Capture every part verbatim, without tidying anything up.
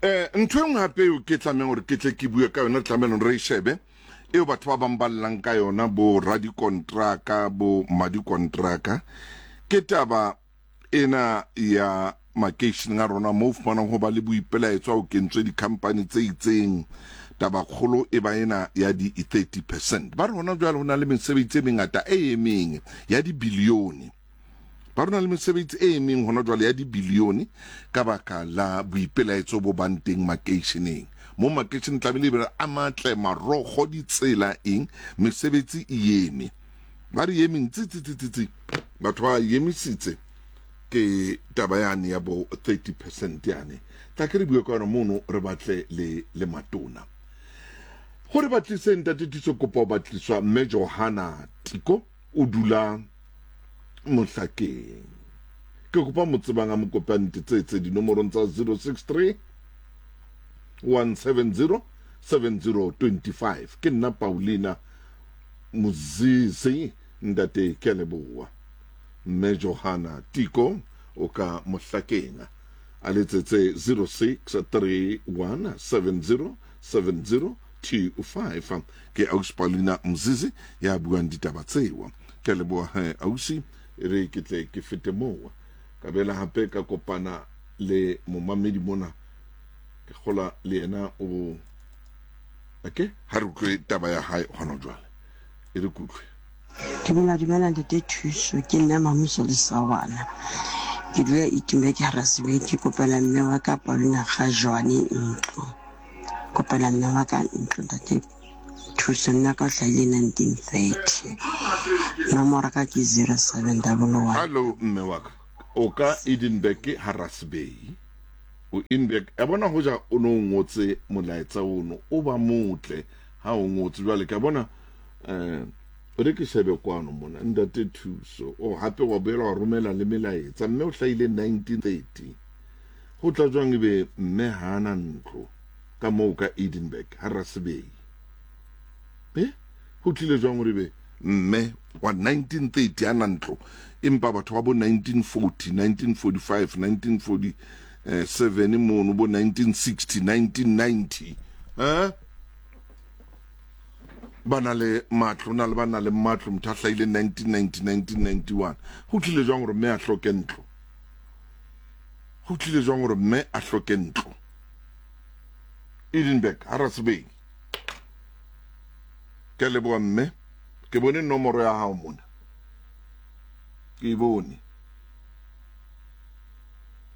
Eh ntho e nngwe hape eo ke tlamehang hore ke tle ke bue ka yona, tlamehang re e shebe, eo batho ba bang ba llang ka yona, bo radikontraka, bo madikontraka, ke taba ena ya makeisheneng a rona moo fumanang ho ba le boipelaetso ha o kentswe di-company tse itseng. Tabakgolo e ba ena ya di thirty percent. Ba re hona jwale ho na le mesebetsi e mengata e emeng ya dibilione. Ba rona le mesebetsi e emeng hona jwale ya dibilione ka baka la boipelaetso bo bang teng makeisheneng. Mo makeisheneng tlamehile e be a matle, marokgo, ditsela, eng, mesebetsi e eme. Ba re emeng tsi tsi tsi tsi tsi, batho ba emisitse ke taba yane ya bo thirty percent yane. Tla ke re bue ka yona mono, re batle le le matona gore ba tlise ntate Thuso. Kopa ho batliswa mme Johanna Tiko, o dula Mohlakeng. Ke kopa mo tsebang a mo kope a ntetsetse dinomorong tsa zero six three one seven zero seven zero twenty five. Ke nna Paulina Mozizi, ntate, ke a leboha. Mme Johanna Tiko o ka Mohlakeng, a letsetse zero six three one seven zero seven zero two five. Ke ausi Paulina Mzizi ya buang ditaba tseo. Ke a leboha he ausi. E re ke tle ke fete moo, ka bela hape ka kopana le momamedi mona, ke kgola le yena o okay. Ha re utlwe taba ya hae hona jwale, e re kutlwe. Dumela, dumela ntate Thuso, ke nna Mamuso Lesawana, ke dula Itumbe, ke Harasibeng. Ke kopela mme wa ka Paulina Gajwane ntlo, kopela mme wa ka ntlo, ntate Thuso. Mme wa ka o hlahile nineteen thirty, nomoro ka ke zero seven double one. Hallo mme wa ka, o ka Edinburgh Harasbey, o Edinburgh ya bona. Hoja o no ngotse molaetsa ono o ba motle ha o ngotse jwale, ke a bona. Eh re ke shebe kwano mona, ntate Thuso, o hape wa boela wa romela le melaetsa. Mme o hlahile nineteen thirty, ho tla jwang ebe mme ha ana ntlo ka moo ka Edinburgh Harasbey? Eh ho tlile jwang hore ebe mme wa nineteen thirty ana ntlo, empa batho ba bo nineteen forty, nineteen forty five, nineteen forty seven mono, bo nineteen sixty, nineteen ninety, eh ba na le matlo? Na le ba na le matlo? Motho a hlahile nineteen ninety, nineteen ninety one, ho tlile jwang hore mme a hloke ntlo? Ho tlile jwang hore mme a hloke ntlo Edinburgh Harasbey? Ke a leboha mme, ke bone nomoro ya hao mona, ke e bone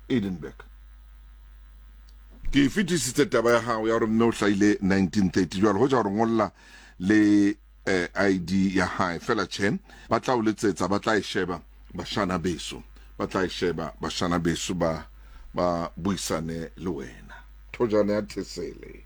Edinburgh. Ke e fetisitse taba ya hao ya hore mme o hlahile nineteen thirty. Jwale hoja hore ngolla le eh, I D ya hae fela, tjhe, ba tla o letsetsa, ba tla e sheba bashana beso, ba tla e sheba bashana beso, ba ba buisane le wena. Thojane ya Thesele.